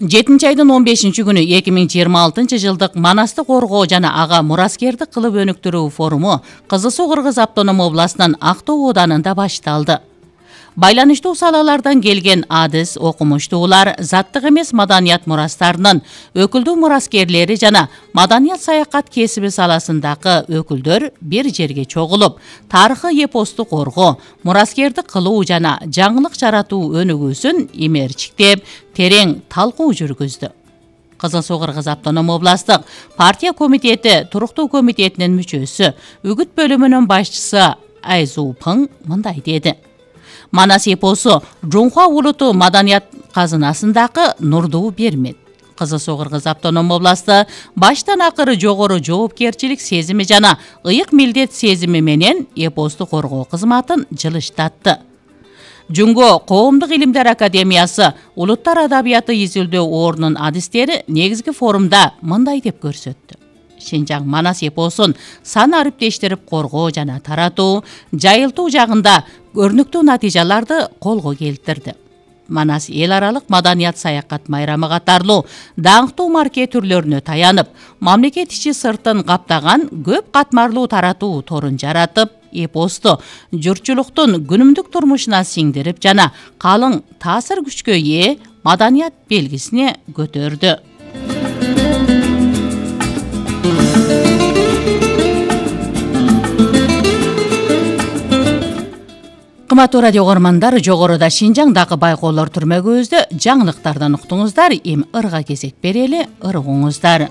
7-айдын 15-күнү 2026-жылдык Манасты коргоо жана ага мураскердик кылып өнүктүрүү форуму Кызыл Суу Кыргыз автоном областынын Актоо ооданында башталды. Байланыштуу салалардан келген адис, окумуштуулар, заттык эмес маданият мурастарынын өкүлдүү мураскерлери жана маданият саякат кесиби саласындагы өкүлдөр бир жерге чогулуп, тарыхый эпосту коргоо, мураскердик кылуу жана жаңылык жаратуу өнүгүүсүн имерчиктеп, терең талкуу жүргүздү. Кызыл Суу Кыргыз автоном областык партия комитети туруктуу комитетинин мүчөсү, үгүт бөлүмүнүн башчысы Айзуу Пың мындай деди. Манас эпосу Жунхуа улуту маданият казынасындагы нурдуу бермет. Кызыл Суу Кыргыз автоном областы баштан акыры жогору жоопкерчилик сезими жана ыйык милдет сезими менен эпосту коргоо кызматын жылыштатты. Жунго Коомдук илимдер академиясы улуттар адабияты изилдөө ордунун адистери негизги форумда мындай деп көрсөттү. Шинжаң Манас эпосун сан ариптештирип коргоо жана таратуу, жайылтуу жагында өрнүктүү натыйжаларды колго келтирди. Манас эл аралык маданият саякат майрамы катарлуу даңктуу марке түрлөрүнө таянып, мамлекет ичи сыртын каптаган көп катмарлуу таратуу торун жаратып, эпосту журтчулуктун күнүмдүк турмушуна сиңдирип жана калың таасир күчкө ээ маданият белгисине көтөрдү. Кымбаттуу радио көрөрмандар, жогоруда Шинжаңдагы байкоолор түрмөгүбүздө жаңылыктардан уктуңуздар. Эми ырга кезек берели, ыргыңыздар.